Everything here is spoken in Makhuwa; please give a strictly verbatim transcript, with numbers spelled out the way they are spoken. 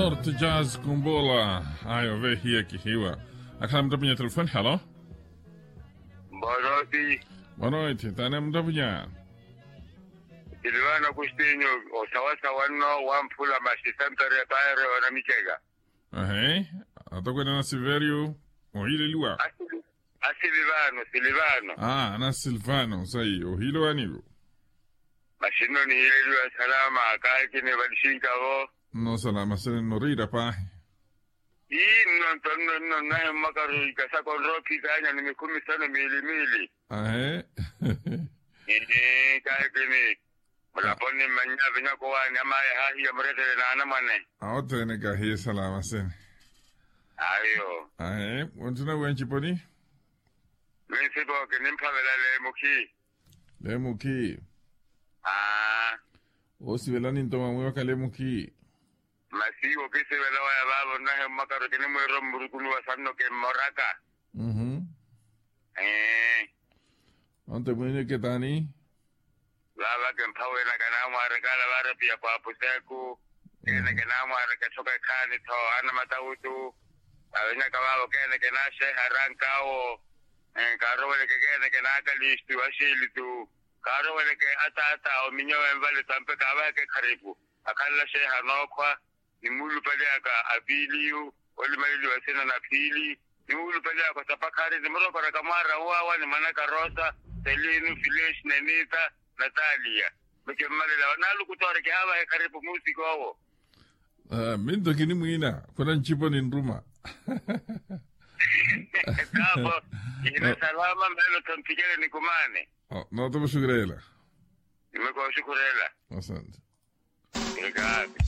Ortejaz kumbola. Ayo vehiya kihiwa. Akhala mutapunya telefoni halo. Boa noite. Boa noite tane mutapunya. Silivano agostinho. Osawasawa nno wamphula masi santo repairo na micheka. Ahe. Atokwene na silverio. Ohileliwa. Asilivano silivano. Ana silvano sayi ohilewanivo. Masi nno nihileliwa salama kaakini valisinkavo. Nno salama sene nno riira paahi. Ii nno nto nno nno nnahi mmakaru ikasaka onrowa ophikanya ni mikhumi sano miili miili. Ahe. Ii kaakini. Mulaponi mmannya vinyako waani amayi ahaahiya muretele n'anamwane. Awo othene kahiye salama sene. Ayo. Ahe. Ontthuna wiwa nciponi. Minsipo kinimphavela leemukhi. Leemukhi. Aa. Oosivelani nto mwamwiwaka leemukhi. Masi okisivela waya vaavo nnahi mmakaru kinimwiira omurukuluwa sanno kimmoraka. Mmm. Ee. Onto mwiineke taani? Vaava kimphawenaka naamwaareka ala vaarapiya kwaapuseku. Keeneke naamwaareka etthoka ekhaani-tho ana matawutu. Vavenyaka vaavo keeneke naaxeeha arankaawo. Kaaroweleke keeneke naakalistu axiilitu. Kaaroweleke ataata ominyo wenvale tampe kaavaheke ekharipu. Akhalela xeeha nookhwa. Nimuulupaliyaka apiiliyu olimaleliwa sina na phiili. Nimuulupaliyaka osapakhari nimurokoraka mwaara nwaawa ni mwanaka rosa, selinu fileshi nenita, nataliya. Mikimmalelawa naalukutoori kihaavaha ekharipu muusik'owo. Minto kinimwiina khuna ncipo ninruma. Tapo. Ina salama mmeelo tho mphikele nikumaane. Noota muxukureela. Nimekooxukureela. Asante. Ekaapi.